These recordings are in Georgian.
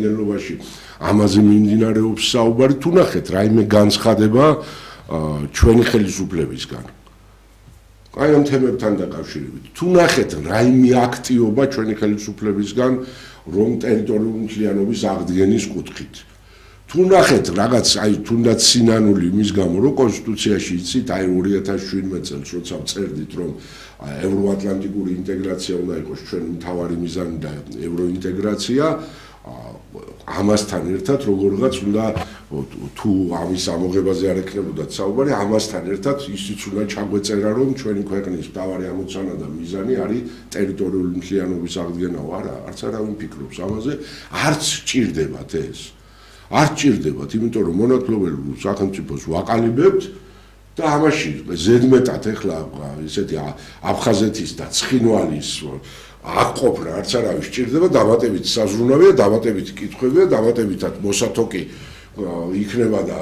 შემადგენლობაში ამაზე მიმდინარეობს საუბარი, თუ ნახეთ რაიმე განცხადება ჩვენი ხელისუფლებისგან. აი ამ თემებთან დაკავშირებით. თუ ნახეთ რაიმე აქტიობა ჩვენი ხელისუფლებისგან რომ ტერიტორიული მთლიანობის აღდგენის კუთხით. თუ ნახეთ რაღაც აი თუნდაც სინანული იმის გამო რომ კონსტიტუციაში იცით აი 2017 წელს როცა წერდით რომ ევროატლანტიკური ინტეგრაცია უნდა იყოს ჩვენი მთავარი მიზანი და ევროინტეგრაცია ამასთან ერთად როგორღაც უნდა თუ ამის ამოღებაზე არ ექნებოდათ საუბარი ამასთან ერთად ისიც უნდა ჩაგვეწერა რომ ჩვენი ქვეყნის მთავარი ამოცანა და მიზანი არის ტერიტორიული მთლიანობის აღდგენა არა არც არავინ ფიქრობს ამაზე არც ჭირდებათ ეს არ ჭირდებათ იმიტომ რომ მონათლობელ სახელმწიფოს ვაყალიბებთ და ამაში ზედმეტად ეხლა ესეთი აფხაზეთის და ცხინვალის აღყოფნა არც არავის ჭირდება დამატებით საზრუნავია დამატებით კითხვებია დამატებითად მოსათოკი იქნება და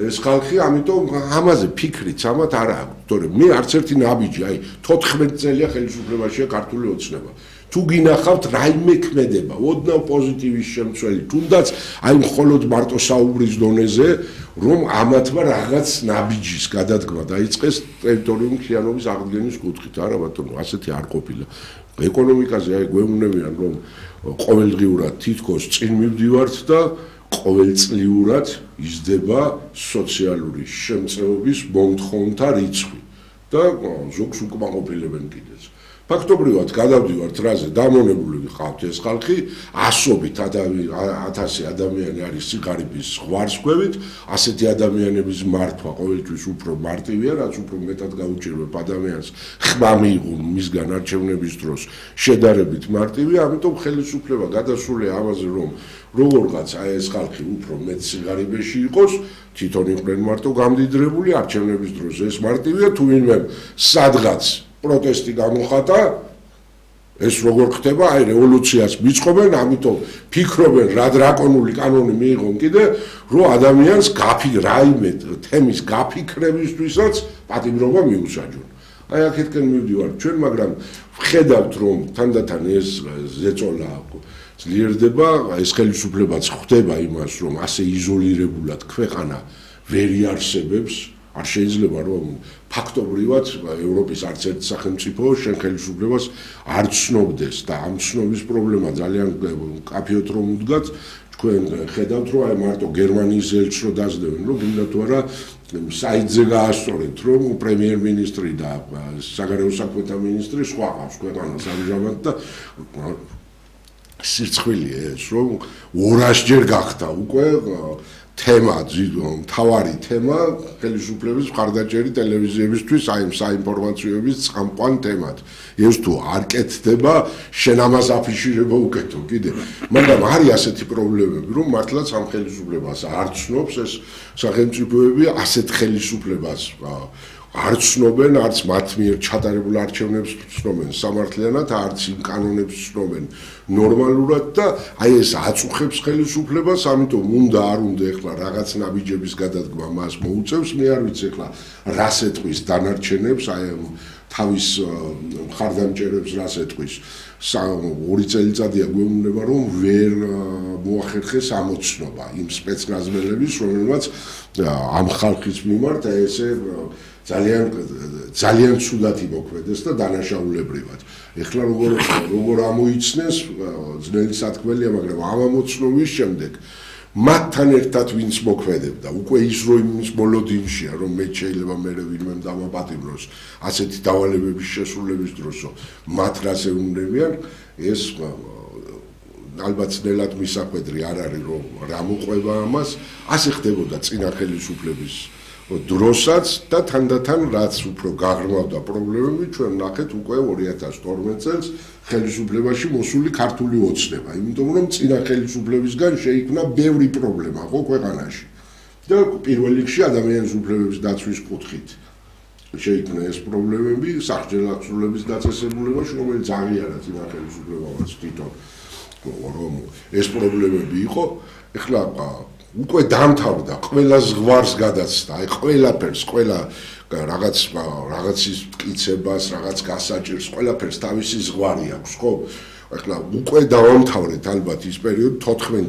ეს ხალხი ამიტომ ამაზე ფიქრიც ამათ არა აქვს თორემ მე არც ერთი ნაბიჯი აი 14 წელია ხელისუფლებაშია ქართული ოცნება თუ გინახავთ რაიმე ქმედება ოდნავ პოზიტივის შემცველი თუნდაც აი მხოლოდ მარტო საუბრის დონეზე რომ ამათმა რაღაც ნაბიჯის გადადგმა დაიწყეს ტერიტორიული მთლიანობის აღდგენის კუთხით არა ბატონო ასეთი არ ყოფილა ეკონომიკაზე აი გვეუბნებიან რომ ყოველდღიურად თითქოს წინ მივდივართ და ყოველწლიურად იზრდება სოციალური შემწეობის მომთხოვნთა რიცხვი და ზოგს უკმაყოფილებენ კიდეც ფაქტობრივად გადავდივართ რაზე დამონებული ვიყავთ ეს ხალხი ასობით 1000 ადამიანი არის სიღარიბის ზღვარსქვევით ასეთი ადამიანების მართვა ყოველთვის უფრო მარტივია რაც უფრო მეტად გაუჭირვებ ადამიანს ხმა მიიღო მისგან არჩევნების დროს შედარებით მარტივია ამიტომ ხელისუფლება გადასულია ამაზე რომ როგორღაც აი ეს ხალხი უფრო მეტ სიღარიბეში იყოს თვითონ იყვნენ მარტო გამდიდრებული არჩევნების დროს ეს მარტივია თუ ვინმე სადღაც პროტესტი გამოხატა ეს როგორ ხდება აი რევოლუციას მიწყობენ ამიტომ ფიქრობენ რა დრაკონული კანონი მიიღონ კიდე რომ ადამიანს რაიმე თემის გაფიქრებისთვისაც პატიმრობა მიუსაჯონ აი აქეთკენ მივდივართ ჩვენ მაგრამ ვხედავთ რომ თანდათან ეს ზეწოლა ძლიერდება ეს ხელისუფლებაც ხვდება იმას რომ ასე იზოლირებულად ქვეყანა ვერ იარსებებს არ შეიძლება რომ ფაქტობრივად ევროპის არც ერთ სახელმწიფო შენ ხელისუფლებას არ ცნობდეს და ამ ცნობის პრობლემა ძალიან კაფეოთ რომ უდგათ თქვენ ხედავთ რომ აი მარტო გერმანიის ელჩს რო დაძლებენ რომ გინდა თუ არა საიტზე გაასწორეთ რომ პრემიერ-მინისტრი და საგარეო საქმეთა მინისტრი სხვა ყავს ქვეყანას ამჟამად და სირცხვილია ეს რომ 200-ჯერ გახდა უკვე თემა მთავარი თემა ხელისუფლების მხარდაჭერი ტელევიზიებისთვის აი ამ საინფორმაციოების წამყვან თემად ეს თუ არ კეთდება შენ ამას აფიშირება უკეთო კიდე მაგრამ არის ასეთი პრობლემები რომ მართლაც ამ ხელისუფლებას არ ცნობს ეს სახელმწიფოები ასეთ ხელისუფლებას არ ცნობენ არც მათ მიერ ჩატარებულ არჩევნებს ცნობენ სამართლიანად არც იმ კანონებს ცნობენ ნორმალურად და აი ეს აწუხებს ხელისუფლებას ამიტომ უნდა არ უნდა ეხლა რაღაც ნაბიჯების გადადგმა მას მოუწევს მე არ ვიცი ეხლა რას ეტყვის დანარჩენებს აი თავის მხარდამჭერებს რას ეტყვის 2 წელიწადია გვეუბნება რომ ვერ მოახერხეს ამოცნობა იმ სპეცნაზმელების რომელმაც ამ ხალხის მიმართ ესე ძალიან ცუდად იმოქმედეს და დანაშაულებრივად. ეხლა როგორ ამოიცნეს ძნელი სათქმელია, მაგრამ ამ ამოცნობის შემდეგ მათთან ერთად ვინც მოქმედებდა, უკვე ის რომ იმის მოლოდინშია, რომ მე შეიძლება მე ვინმე დამაპატიმროს ასეთი დავალებების შესრულების დროსო, მათ რას ეუბნებიან, ეს ალბათ ძნელად მისახვედრი არ არის რომ რა მოყვება ამას, ასე ხდებოდა წინა ხელისუფლების დროსაც და თანდათან რაც უფრო გაღრმავდა პრობლემები ჩვენ ნახეთ უკვე 2012 წელს ხელისუფლებაში მოსული ქართული ოცნება იმიტომ რომ წინა ხელისუფლებისგან შეიქმნა ბევრი პრობლემა ხო ქვეყანაში და პირველ რიგში ადამიანის უფლებების დაცვის კუთხით შეიქმნა ეს პრობლემები სახჯერ აღსრულების დაწესებულებაში რომელიც აღიარა წინა ხელისუფლებამაც თვითონ რომ ეს პრობლემები იყო ეხლა უკვე დამთავრდა ყველა ზღვარს გადაცდა აი ყველაფერს ყველა რაღაცის მტკიცებას რაღაც გასაჭირს ყველაფერს თავისი ზღვარი აქვს ხო ეხლა უკვე დავამთავრეთ ალბათ ის პერიოდი 14